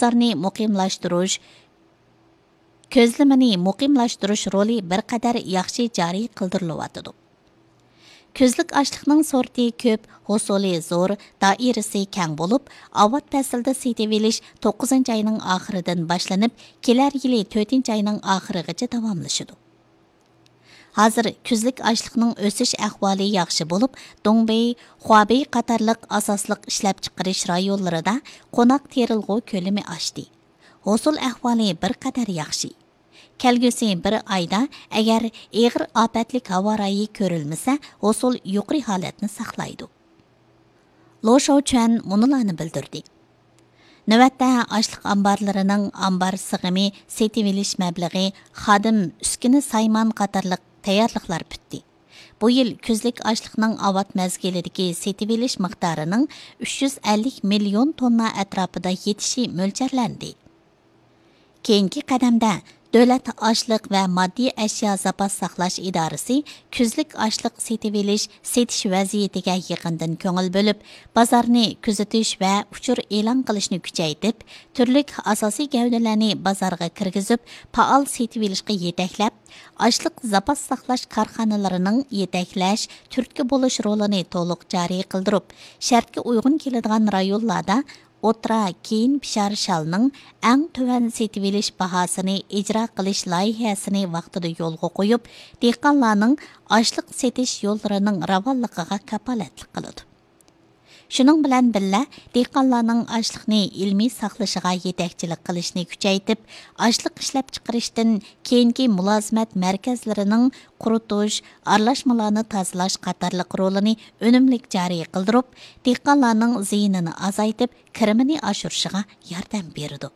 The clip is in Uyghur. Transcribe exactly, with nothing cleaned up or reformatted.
ئىقتىدارنى مۇقىملاشتۇرۇش، كۆزلىمىنى مۇقىملاشتۇرۇش رولى بىر قەدەر ياخشى جارى قىلدۇرۇلۇۋاتىدۇ. كۈزلۈك ئاشلىقنىڭ سورتى كۆپ، ھوسۇلى زور، دائىرىسى كەڭ بولۇپ، ئاۋات پەسلىدە سېتىۋېلىش توققۇزىنچى ئاينىڭ ئاخىرىدىن باشلىنىپ، كېلەر يىلى تۆتىنچى ئاينىڭ ئاخىرىغىچە داۋاملىشىدۇ. ھازىر كۈزلۈك ئاشلىقنىڭ ئۆسۈش ئەھۋالى ياخشى بولۇپ، دۇڭبېي، خۇابېي قاتارلىق ئاساسلىق ئىشلەپچىقىرىش رايونلىرىدا قوناق تېرىلغۇ كۆلىمى ئاشتى. ھوسۇل ئەھۋالى بىر قەدەر ياخشى. كەلگۈسى بىر ئايدا ئەگەر ئېغىر ئاپەتلىك ھاۋا رايى كۆرۈلمىسە، ھوسۇل يۇقىرى ھالەتنى ساقلايدۇ. لو شاۋچۈەن مۇنۇلارنى بىلدۈردى. نۆۋەتتە ئاشلىق ئامبارلىرىنىڭ ئامبار سىغىمى، سېتىۋېلىش مەبلىغى، خادىم، ئۈسكۈنە سايمان قاتارلىق تەييارلىقلار پۈتتى. بۇ يىل كۈزلۈك ئاشلىقنىڭ ئاۋات مەزگىلىدىكى سېتىۋېلىش مىقدارىنىڭ ئۈچ يۈز ئەللىك مىليون توننا ئەتراپىدا يېتىشى مۆلچەرلەندى. كېيىنكى قەدەمدە دۆلەت ئاشلىق ۋە ماددىي ئەشيا زاپاس ساقلاش ئىدارىسى كۈزلۈك ئاشلىق سېتىۋېلىش، سېتىش ۋەزىيىتىگە يېقىندىن كۆڭۈل بۆلۈپ، بازارنى كۆزىتىش ۋە ئۇچۇر ئېلان قىلىشنى كۈچەيتىپ، تۈرلۈك ئاساسىي گەۋدىلەرنى بازارغا كىرگۈزۈپ، پائال سېتىۋېلىشقا يېتەكلەپ، ئاشلىق زاپاس ساقلاش كارخانىلىرىنىڭ يېتەكلەش، تۈرتكە بولۇش رولىنى تولۇق جارى قىلدۇرۇپ، شەرتكە ئۇيغۇن كېلىدىغان رايونلاردا ئوتتۇرا كېيىن پىشار شالنىڭ ئەڭ تۆۋەن سېتىۋېلىش باھاسىنى ئىجرا قىلىش لايىھەسىنى ۋاقتىدا يولغا قويۇپ، دېھقانلارنىڭ ئاشلىق سېتىش يوللىرىنىڭ راۋانلىقىغا كاپالەتلىك قىلىدۇ. شۇنىڭ بىلەن بىللە، دېھقانلارنىڭ ئاشلىقنى ئىلمىي ساقلىشىغا يېتەكچىلىك قىلىشنى كۈچەيتىپ، ئاشلىق ئىشلەپچىقىرىشتىن كېيىنكى مۇلازىمەت مەركەزلىرىنىڭ قۇرۇتۇش، ئارىلاشمىلارنى تازىلاش قاتارلىق رولىنى ئۈنۈملۈك جارى قىلدۇرۇپ، دېھقانلارنىڭ زىيىنىنى ئازايتىپ، كىرىمىنى ئاشۇرۇشىغا ياردەم بېرىدۇ.